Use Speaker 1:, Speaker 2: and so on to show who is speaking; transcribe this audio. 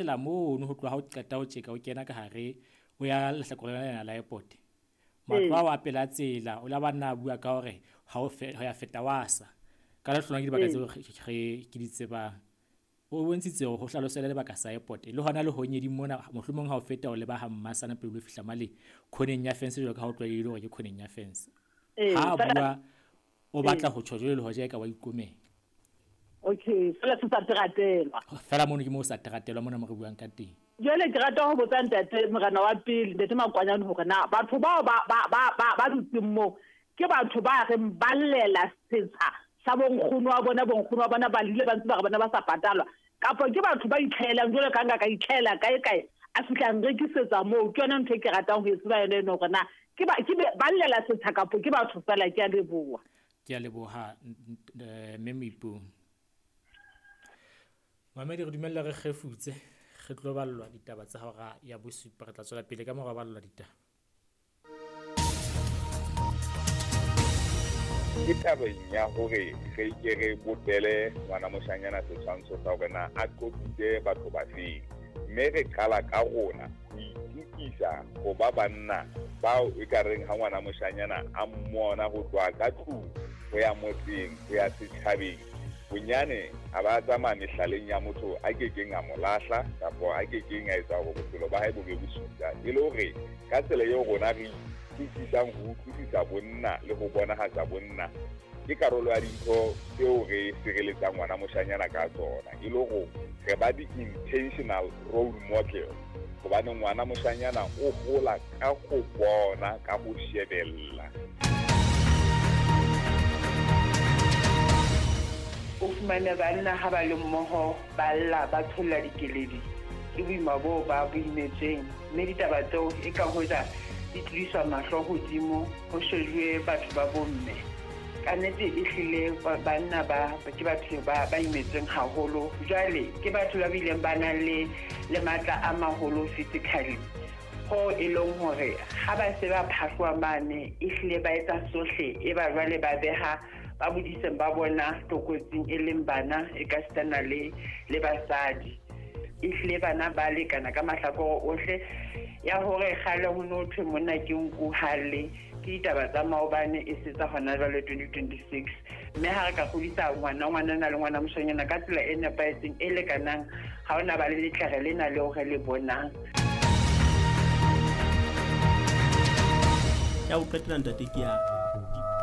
Speaker 1: Tsela mono ho tloha ha o qeta ho tjeka o kena ka hare o ya lehlakoreng lena la airport. Matlo ao a pela tsela o la ba nna a bua ka hore ha o ho ya feta wa sa. Ka lehlohonolo ke dibaka tseo re ke di tsebang. O bontshitse hore ho hlalosele lebaka sa airport le hona le honyeding mona mohlomong ha o feta o leba ha Mmasana pele o fihla male khoneng ya fence jwalo ka ha o tlwaelehile hore ke khoneng ya fence. Ha a bua o batla ho tjho jwale le hoja eka wa ikomela.
Speaker 2: Okay, fela se sa teratelwa.
Speaker 1: Fela mono ke mo sa teratelwa mona mo re buang ka teng.
Speaker 2: Jwale ke rata ho botsa ntate morena wa pele, ntate Makwanyane, hore na batho bao ba ba ba ba ba dutseng moo ke batho ba reng ba llela setsha sa bonkgono wa bona, bonkgono wa bona ba lile ba ntse ba re bona ba sa patalwa, kapa ke batho ba itlhaelang jwalo ka nka ka itlhaela kae kae a fihla nrekisetsa moo. Ke yona ntho e ke ratang ho e tseba yona eno, hore na ke ba ke ba llela setsha kapa ke batho fela. Ke a leboha.
Speaker 1: Ke a leboha, mme Moipong. Mamedi, re dumella re kgefutse, re tlo ballwa ditaba tsa hora ya bosupa. Re tla tswela pele ka mora ballwa ditaba.
Speaker 3: Ke tabeng ya hore re ke re bopele ngwana moshanyana setshwantsho sa hore na a qobitse batho ba feng, mme re qala ka rona ho itukisa ho ba banna bao e ka reng ha ngwana moshanyana a mmona ho tloha ka tlung ho ya motseng ho ya setjhabeng, bonyane a ba tsamaya mehlaleng ya motho a kekeng a mo lahla kapa a kekeng a etsa hore bophelo ba hae bo be bosula. E le hore ka tsela eo rona re itukisang ho utlwisisa bonna le ho bonahatsa bonna ke karolo ya dintho tseo re sireletsang ngwana moshanyana ka tsona, e le hore re ba di-intentional role model, hobane ngwana moshanyana o hola ka ho bona, ka ho shebella.
Speaker 4: O fumane banna ha ba le mmoho ba lla ba tsholla dikeledi ke boima boo ba bo imetsweng, mme ditaba tseo e ka hoja di tlodiswa mahlo hodimo ho shejuwe batho ba bomme. Ka nnete e hlile banna ba ke batho ba ba imetsweng haholo. Jwale ke batho ba bileng ba nang le le matla a maholo physically, ho e leng hore ha ba se ba phahloa mane e hlile ba etsa sohle, e ba jwale ba beha ba bodiseng ba bona tlokotsing, e leng bana e ka sitana le le basadi. E hlile bana ba lekana ka mahlakore ohle. Ya hore kgale ho no thwe monna ke nku halle, ke ditaba tsa maobane e se tsa hona jwale 2026. Mme ha re ka kgodisa ngwana ngwanana le ngwana moshanyana ka tsela e nepahetseng e lekanang, ha hona ba le letlere lena leo re le bonang.
Speaker 5: Ya ho qetela ntate ke ya